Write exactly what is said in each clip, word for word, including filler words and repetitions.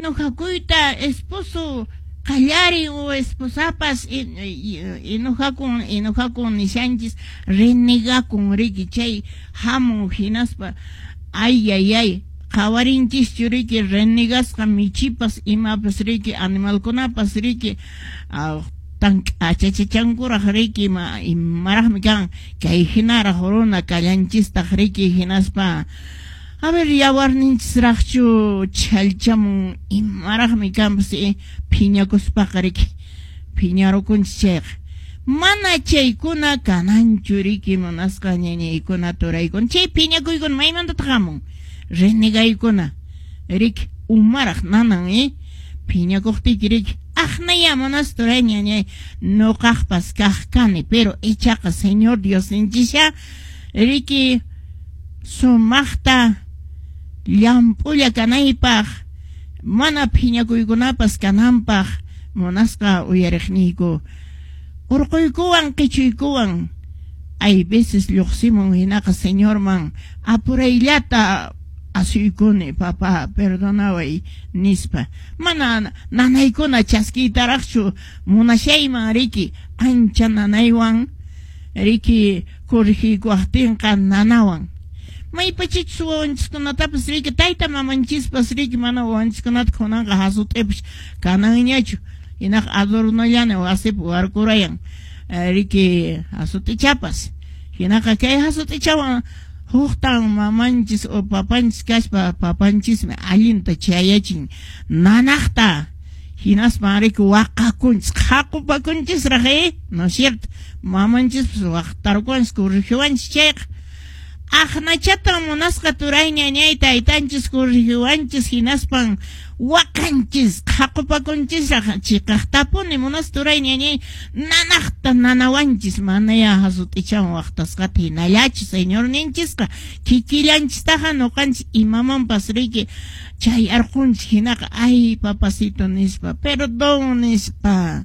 Enojakuyta esposo qallarin o esposapas enojakun, enojakun nishanchis, renegakun riki, chay hamun hinaspa ay ay ay qhawarinchischu riki renegasqa michipas imapas riki animalkunapas riki tan k'achachachankuraq riki imaraqmi kan kay hinaraq runa kallanchistaq riki hinaspa a ver yawarninchisraqchu chhallchamun imaraqmi kanpas phiñakuspaqa riki phiñarukunchis chayqa mana chaykuna kananchu riki munasqa ñañaykuna turaykuna chay phiñakuykuna maymantataq hamun renegaykuna riki umaraq nanan eh phiñakuqtiyki riki aqnaya munas turay ñañay nuqaqpas kaq kani pero ichaqa Señor Diosninchisha riki sumaqta llamp'ulla kanaypaq mana phiñakuykunapas kananpaq munasqa uyariqniyku urquykuwan qichuykuwan hay veces lluqsimun hinaqa Señorman apurayllata asuykuni papá perdonaway nispa mana nanaykuna chaskiytaraqchu munashayman riki ancha nanaywan riki corregiykuwaqtinqa nanawan maypachichus wawanchiskunatapas riki tayta mamanchispas riki mana wawanchiskunata kunanqa hasut'ipas kananñachu hinaqa adornollana wasipi warkurayan riki hasut'ichapas hinaqa kay hasut'ichawan huqtan mamanchis o papanchis kaspa papanchismi allinta chayachin nanaqta hinaspa riki waqakunchis qhaqupakunchisraq eh no es cierto mamanchispas waqtarkunchis corregiwanchis chayqa aqnachatan munasqa turay ñañay taytanchis corregiwanchis hinaspan waqanchis qhaqupakunchisraq chiqaqtapuni munas turay ñañay nanaqta nanawanchis manaya hasut'ichawan waqtasqata hinallachu Señorninchisqa kikillanchistaqa nuqanchis imamanpas riki chay arqunchis hinaqa ay papacito nispa perdón nispa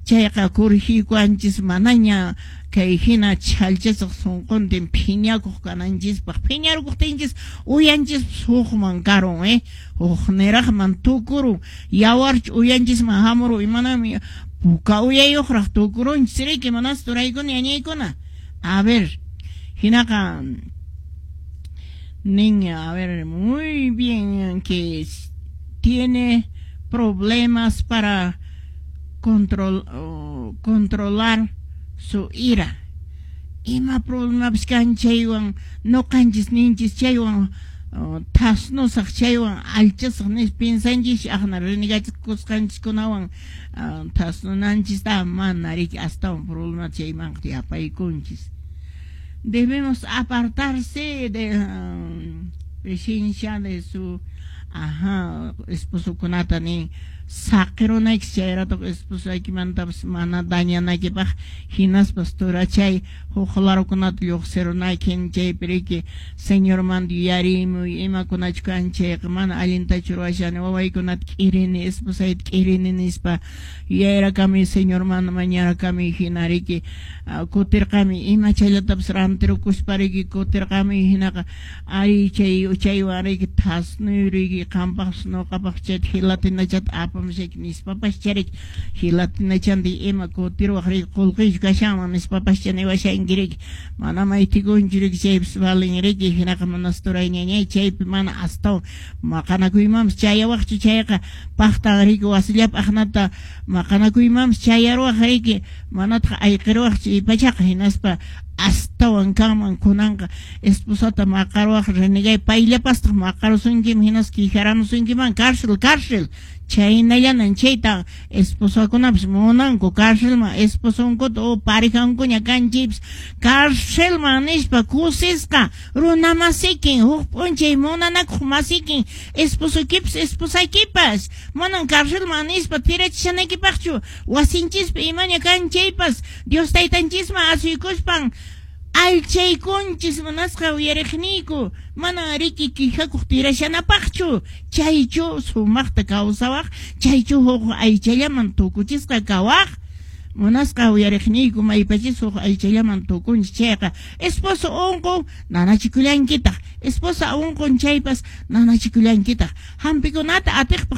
chayqa corregiykuwanchis manaña kay hina chhallchasaq sunquntin phiñakuq kananchispaq phiñarkuqtinchis uyanchispas hukman karun eh hukniraqman tukurun yawarchu uyanchisman hamurun imanami puka uyayuqraq tukurunchis riki manas turaykuna ñañaykuna a ver hinaqa niña a ver muy bien que tiene problemas para control, uh, controlar su ira ima problemapas kan chaywan nuqanchis ninchis chaywan uh, thasnusaq chaywan allchasaq nispa piensanchis aqna renegachikusqanchiskunawan uh, thasnunanchista mana riki astawan problema chaymanqa yapaykunchis debemos apartarse de uh, presencia de su ajá esposokunata nin saqirunayki chayratoq esposaykimantapas mana dañanaykipaq hinaspas turachay huk larukunata lluqsirunayki chaypi riki Señormanta yuyarimuy imakunachu kan chayqa mana allintachu ruwashani wawaykunata k'irini esposayta k'irini nispa yuyayrakami Señormanta mañarakami hina riki kutirqami ima chayllatapas rantirukuspa riki kutirqami hinaqa ay chay chaywan riki thasnuy riki qampaqpas nuqapaqpas chayta gelatinachata apamushayki nispapas chariki gelatinachanti ima kutiruwaq riki qullqiychu kashanman nispapas niwashanki riki mana maytikunchu riki chaypas valin riki hinaqa manas turay ñañay chaypi mana astawan maqanakuymanpas chayawaqchu chayqa paqtan riki wasillapi aqnata maqanakuymanpas chayaruwaq riki manataq ayqiruwaqchu ipachaqa hinaspa astawan kanman kunanqa esposata maqaruwaq renegay payllapastaq maqarusunkiman hinaspa quejaramusunkiman cárcel cárcel chaynallanan chayta esposakunapas munanku cárcelman esposonkuta o parejankuña kan chaypas cárcelman nispa kusisqa runa masikin huk p'unchay munanakuq masikin esposuykipas esposaykipas manan cárcelman nispa tirachishanaykipaqchu wasinchispi imaña kan chaypas Dios taytanchisman asuykuspan allchaykunchis munasqa uyariqniyku mana riki quejakuq tirashanapaqchu chaychu sumaqta kawsawaq chaychu huk aychallaman tukuchisqa kawaq munasqa uyariqniyku maypachis huk aychallaman tukunchis chayqa esposo unqun nanachikullankitaq esposa unqun chaypas nanachikullankitaq hampikunata atiqpaq.